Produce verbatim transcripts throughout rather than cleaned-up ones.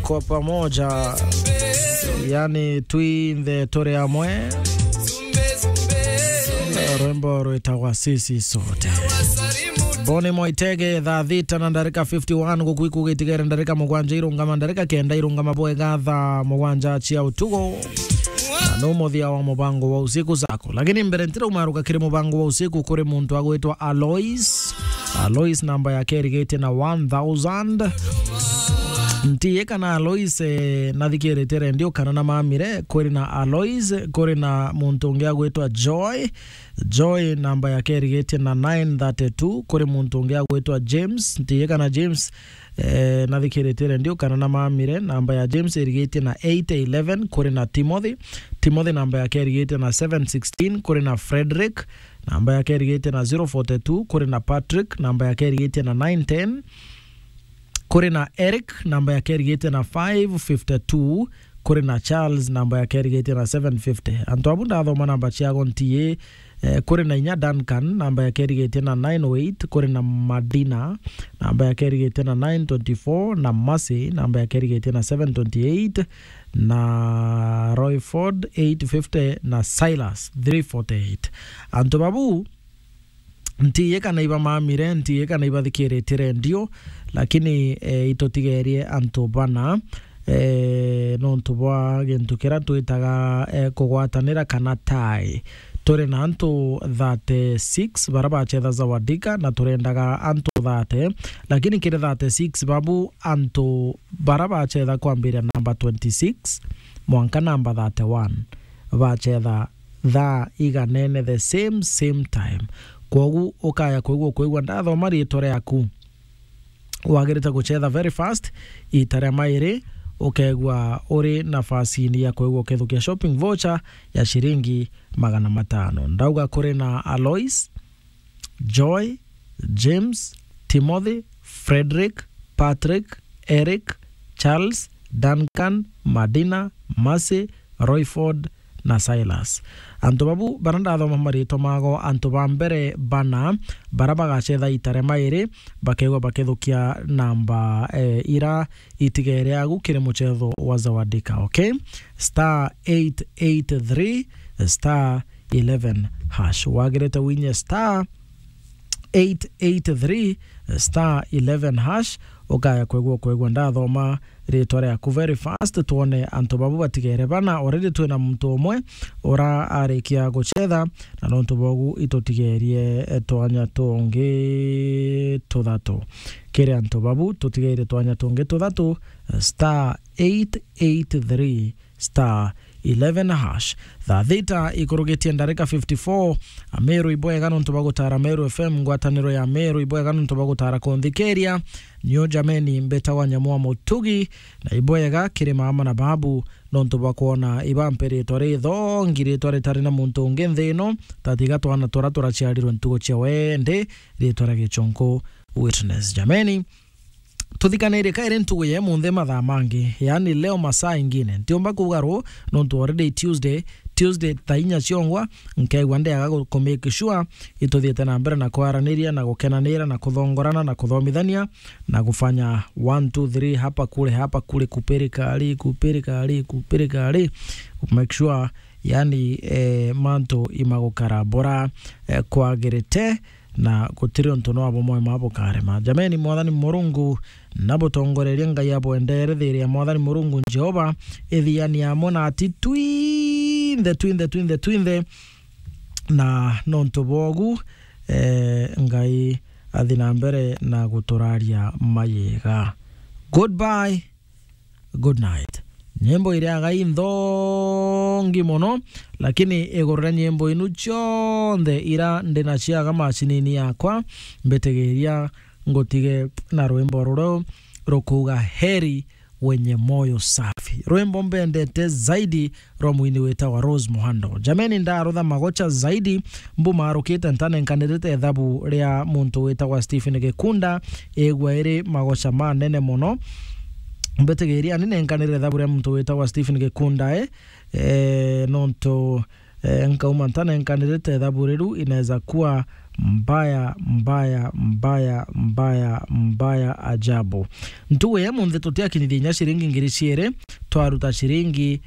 kwa pamoja, yani twinthe turi amwe. Rwimbo rwitagwa Sisi Sote. Boni Moitege, thaa thita na ndarika fifty-one, guku ikugitigere ndarika mugwanja irungama, ndarika kenda irungama bwega thaa mugwanja cia utugo. Na no muthia wa mubango wa usiku zako. Lakini mbere ntira umaruka kiri mubango wa usiku, kuri muntu agwitwa Alois. Alois namba yake irigitie na one thousand. Ntiye kana Alois, eh, nathikirite rendio kana na mamire, kuri na Alois, kuri na muntu ungi agwitwa Joy. Joy namba yake irigitie na nine thirty-two, kuri muntu ungi agwitwa James. Ntiye kana James, eh, nathikirite rendio kana na mamire, namba ya James irigitie na eight eleven, kuri na Timothy. Timothy namba yake irigitie na seven sixteen, kuri na Frederick, namba yake irigitie na zero forty-two, kuri na Patrick, namba yake irigitie na nine ten, kuri na Eric, namba yake irigitie na five fifty-two, kuri na Charles, namba yake irigitie na seven fifty. Antu abu ndathoma namba ciago ntiye, eh, kuri na inya Duncan, namba yake irigitie na nine oh eight, kuri na Madina, namba yake irigitie na nine twenty-four, na Mercy, namba yake irigitie na seven twenty-eight, na Royford eight fifty, na Silas three forty-eight. Antu babu, ntiye kana ibamamire, ntiye kana ibathikiritie rendio, lakini, eh, itutigerie antu bana, eh, nontu bwa gintu kiria twitaga, eh, kugwatanira kana tie. Turi na antu thirty-six bara bacetha Zawadika, na turendaga antu thirty, lakini kiri thirty-six babu, antu bara bacetha kwambiria namba twenty-six mwanka namba thirty-one bacetha thaa iganene the same, same time. Kwogu ukaya kwigua, kwigua ndathoma riitwa riaku, wagirite gucetha very fast, ita ria mairi, ukegua uri nafasini ya kwigua ukithukia shopping voucher ya shiringi magana matano. Ndauga kuri na Alois, Joy, James, Timothy, Frederick, Patrick, Eric, Charles, Duncan, Madina, Mercy, Royford na Silas. Antu babu bara ndathoma maritwa mago, antu ba mbere bana bara bagacetha ita ria mairi, bakegwa bakethukia namba, eh, ira itigere agu kiri mucetho wa Zawadika, okay? Star eight eight three star eleven hash. Wagirite winye star eight eight three star eleven hash, ukaya kwegua, kwegua ndathoma ritwa riaku very fast, twone antu babu batigere bana. Already twina muntu umwe ura arikia gucetha, na nontu bogu itutigerie, eh, twanya tungi tuthatu. Kiri antu babu tutigeire twanya tungi tuthatu, star eight eight three star eleven hash. Thaa thita ikurugitie ndarika fifty-four. Ameru ibwega nontu bwa gutara Meru F M, ngwataniro ya Meru ibwega nontu bwa gutara kunthikiria. Nio jameni mbetagwa Nyamwa Mutugi, na ibwega kiri mama na babu nontu bwa kwona ibampe ritwa rithongi, ritwa ritari na muntu ungi nthi ino, tatiga twana tura turaciarirwe ntugu cia wendi, ritwa ria Gichunku Witness. Jameni, tuthikanire kairi ntugu ya imunthi mathaa mangi, yaani leo masaa ingine. Ntiumba kuuga ru, nontu already Tuesday, Tuesday thaa inya ciongwa, nkeigua ndiaga gu-, ku make sure ituthiite na mbere na kwaraniria na gukenanira na kuthongorana na kuthomithania na kufanya one, two, three, hapa kule, hapa kule, kupirikari, kupirikari, kupirikari, make sure, yani, eh, mantu imagukara bora, eh, kwagirite, na gutiri untu no bumwe ma bukarema. Jameni, Mwathani Murungu nabutongorerie, Ngai abwendere, thiri ya Mwathani Murungu Jehova ithiani amwe nati twinthe, twinthe, twinthe, twinthe. Na nontu bogu, eh, Ngai athi na mbere na guturaria mayega. Goodbye. Good night. Nyimbo iria agai nthongi mono, lakini iguru ria nyimbo inu cionthe ira ndi nacio aga macinini yakwa, mbitigiria ngutige na rwimbo ruru rukuuga, "Heri wenye moyo safi." Rwimbo mbendete zaidi rwa mwini witagwa Rose Muhando. Jameni, ndarutha magocha zaidi, mbumarukite ntanenkanirite ithabu ria muntu witagwa Stephen Gikunda, igua iri magocha manene mono. Mbitigiria ni nenkanire ithabu ria muntu witagwa Stephen Gikunda, eh, eh, nontu eh, nkauma ntanenkanirite ithabu riu, inaweza kuwa mbaya, mbaya, mbaya, mbaya, mbaya ajabu. Ntugu ya munthi tutiakinyithia inya ciringi ngiri ciiri, twaruta ciringi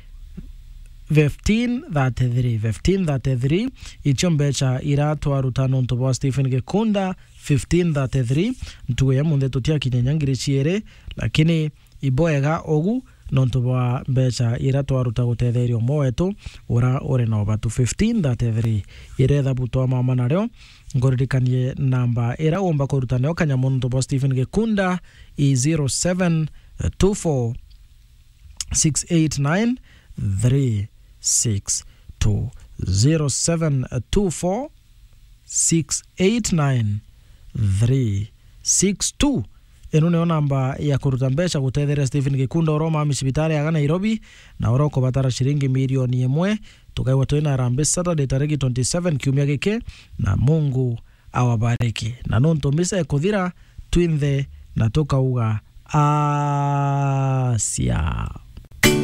fifteen thirty-three, fifteen thirty-three, icio mbeca ira twaruta nontu bwa Stephen Gikunda, fifteen thirty-three. Ntugu ya munthi tutiakinya inya ngiri ciiri, lakini ibwega ugu nontu bwa mbeca ira twaruta gutetheria umwe wetu ura uri na ubatu. Fifteen thirty-three, ira ithabu twamama nario, nguririkanie namba ira umba kuruta nayo kanyamu nontu bwa Stephen Gikunda i zero seven two four six eight nine three six two, zero seven two four six eight nine three six two. Ino niyo namba ya kuruta mbeca gutetheria Stephen Gikunda ura umami cibitari aga Nairobi, na ura ukubatara ciringi milioni imwe. Tukaigua twina Harambee Saturday tariki twenty-seven kiumia giki, na Mungu awabariki. Na nontu misa ikuthira, twinthe na tukauga, asia.